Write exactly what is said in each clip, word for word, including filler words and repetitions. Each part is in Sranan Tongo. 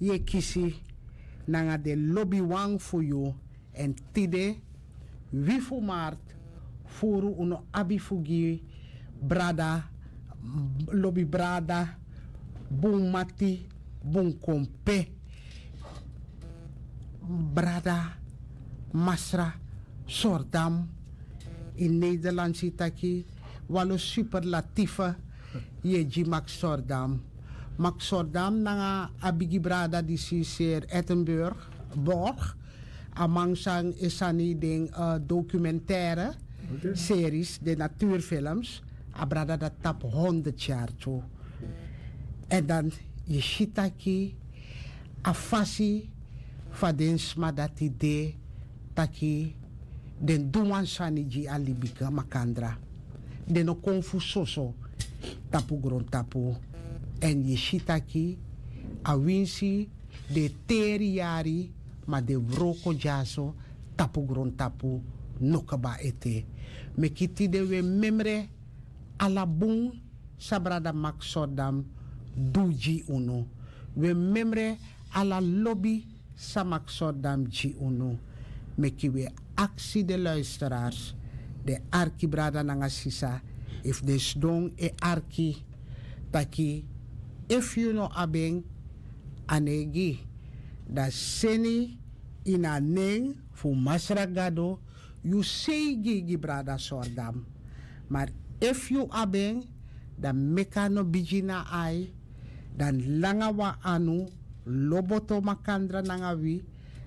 Yu e kisi nanga den lobiwan fu yu. Èn tide wi fu marti furu unu abi fu gi brada, lobi brada, bun mati, bun kompe, brada Masra Sordam. In Nederlands yu taki walo superlatife yu e gi Max Sordam. Max Sordam nanga a bigi brada disi Sir Ettenburg Borg. A man san e sani den documentaire series, den natuurfilms. A brada dati tapu honderd yari tu. Èn dan yu si taki a fasi fu a den sma dati de taki den du wan sani gi a libi makandra. Den no kon fu soso tapu grontapu. Èn yu si taki a winsi den e teri yari, ma den wroko dyaso tapu grontapu no kaba ete. Meki tide wi e memre ala bun san brada Max Sordam du gi unu. Wi e memre ala lobi san Max Sordam gi unu. Meki wi e aksi den luisteraars, den arki brada nanga sisa, efu den sidon e arki taki efu yu no abi en, a no e gi, dan seni ini a nen fu Masra Gado yu seigi gi brada Sordam. Ma efu yu abi en, dan meki a no bigi na ai, dan langa wan anu, loboto makandra nanga wi,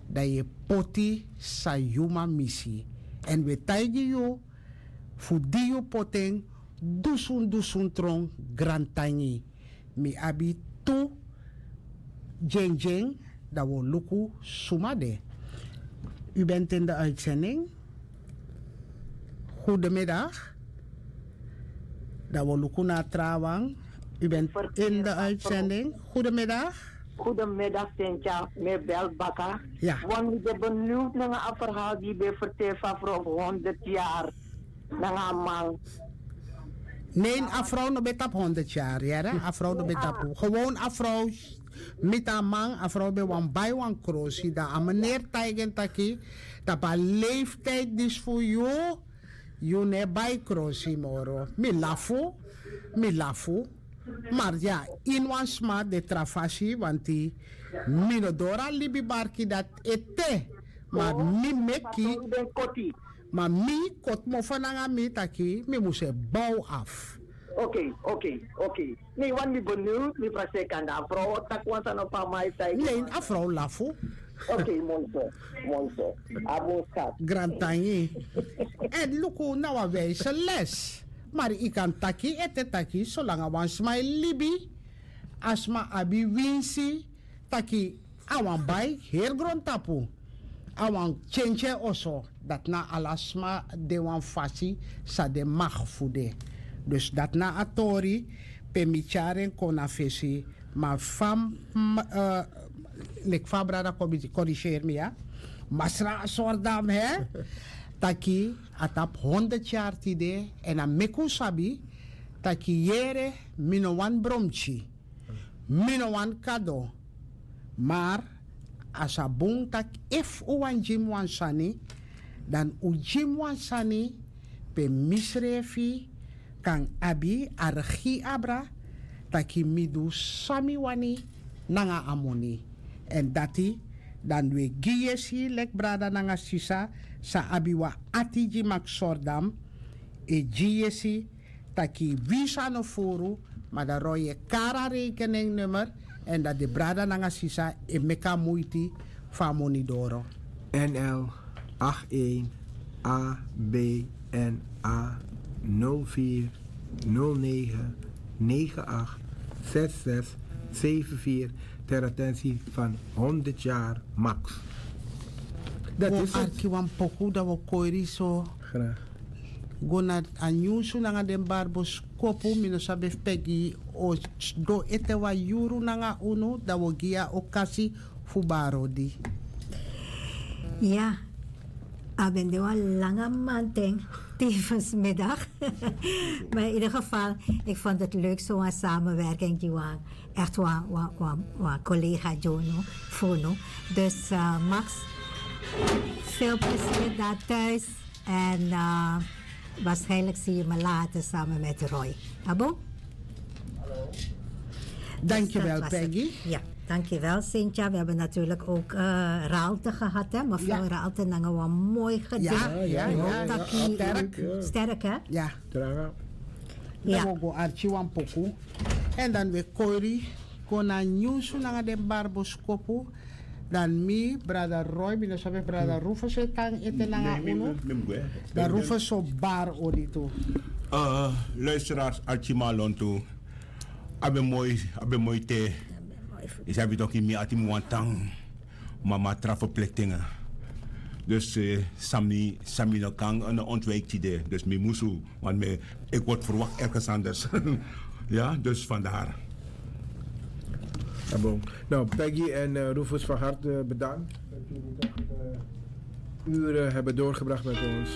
dan yu e poti san yu man misi. Èn wi e taigi yu fu di yu poti en dusun dusun tron. Grantangi. Mi abi tu dyendyen, dan wi o luku suma de. U bent in de uitzending. Goedemiddag. Dan wi o luku na a trawan. U bent in de uitzending. Goedemiddag. Goedemiddag, Cynthia. Mi e bel baka. Wan mi ben benieuwd nanga a verhaal di yu ben vertel fu a vrouw fu honderd yari nanga a man. Nee, a vrouw no ben tapu honderd yari, yere. A vrouw no ben tapu. Gewoon a vrouw miti a man, a vrouw ben wani bai wan krosi, dan a meneer taigi en taki tapu a leeftijd disi fu yu, yu no e bai krosi moro. Mi lafu, mi lafu. Ma ya, ini wan sma de tra fasi, want mi no doro a libi barki dati ete. Ma mi meki, ma mi koti mofo nanga mi taki mi mus e bow afu. Oké, oké, oké. Mi wan mi benieuwd, mi frase kanda a vrouw o taki wan sani fu a man e taigi. Nee, a vrouw lafu. Oké, moi so, moi so. A bun skat. Grantangi. Èn luku na wan wijze les. Ma yu kan taki ete taki solanga wan sma e libi, a sma abi winsi taki a wani bai heri grontapu, a wani tyentyen oso. Dati na ala sma de wan fasi san de mag fu de. Dus dati na a tori pe mi tyari en kon na fesi. Ma fa, leki fa a brada korigeri mi ya, Masra Sordam, he, taki a tapu honderd yari tide. Èn a meki un sabi taki yere, mi no wani bromtyi, mi no wani kado. Mar a sa bun taki efu un wani gi mi wan sani, dan un gi mi wan sani pe misrefi kan abi a regi abra taki mi du san mi wani nanga a moni. Èn dati dan un e gi yesi leki brada nanga sisa san abi wan ati gi Max Sordam, e gi yesi taki wi san no furu, ma dan roi e kari a rekeningnummer, èn dan den brada nanga sisa e meki a muiti fu a moni doro. N L acht een A B N A nul vier nul negen negen acht zes zes zeven vier ter attentie van honderd jaar Max. Dat is het. Arki wan poku dan wi o kori so. Graag. Go na a nyunsu nanga den barboskopu, mi no sabi efu Peggy o doro ete wan yuru nanga unu, dan wi o gi yu a okasi fu bari odi. Ya. A ben de wan langa manten tevens middag. Maar in ieder geval, ik vond het leuk zo'n samenwerking die we echt wan, wan, wan, wan collega Jono, Fono. Dus uh, Max, veel plezier daar thuis. En uh, waarschijnlijk zie je me later samen met Roy. Abo? Dankjewel, Peggy. Ja, dankjewel, Cynthia. We hebben natuurlijk ook uh, Raalte gehad, hè? Mevrouw Raalte, nanga wan mooi gedicht. Ja, ja, ja. Sterk. Sterk, hè? Ja. Dan we go arki wan poku. En dan we kori. Go na nyunsu nanga den barboskopu. Dan mi, brada Roy, mi no sabi brada Rufus e kan ete nanga unu. Dan Rufus o bar odi tu. Luisteraars, arki malon tu. Abe moi, abe moi te. Isabi toki mi ati mi wan tan. Mama tra verplichtingen. Dus uh, sami, sami no kan een ontwijktide. Dus mi musu, want me, ik word verwacht ergens anders. Ja, dus vandaar. Ah, bon. Nou, Peggy en uh, Rufus, van harte bedankt dat jullie toch uh, uren hebben doorgebracht met ons.